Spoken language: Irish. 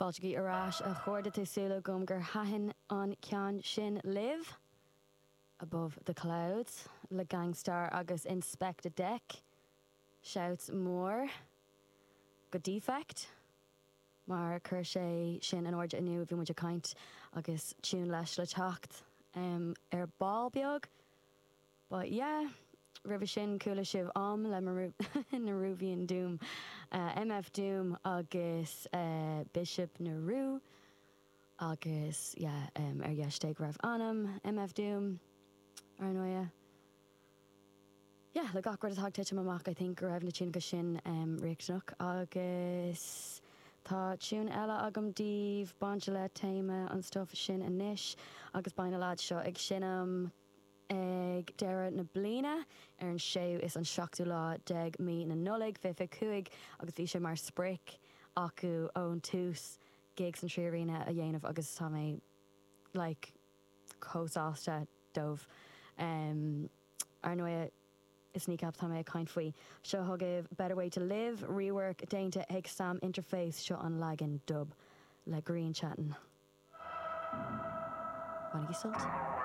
Fáiltigí ar ais a chairde tá súil agam gur thaitin an ceann sin libh. Above the Clouds le Gang Starr agus Inspectah Deck. Shouts mór go Defect mar chuir sé sin in airde inniu bhí muid ag caint agus tune leis le teacht ar ball beag. But yeah, roimhe sin chuala sibh Om le Nehruvian Doom, MF Doom agus Bishop Nehru agus yeah ar dheis Dé go raibh anam MF Doom ar ndóighe. Yeah, le gach rud atá ag titim amach I think go raibh na tiúnacha sin riachtanach agus tá tune eile agam daoibh bainte le téama an stuff sin anois agus beidh na lads seo ag seinm ag deireadh na bliana ar an séú is an seachtú lá déag mí na Nollag 2025 agus bhí sé mar sprioc acu ón tús gig san 3Arena a dhéanamh agus tá mé like chomh sásta dóibh. Ar ndóighe is Kneecap atá mé ag caint faoi. Seo chugaibh Better Way to Live, rework déanta ag Sam Interface, seo an leagan dub le Grian Chatten. Bainigí sult.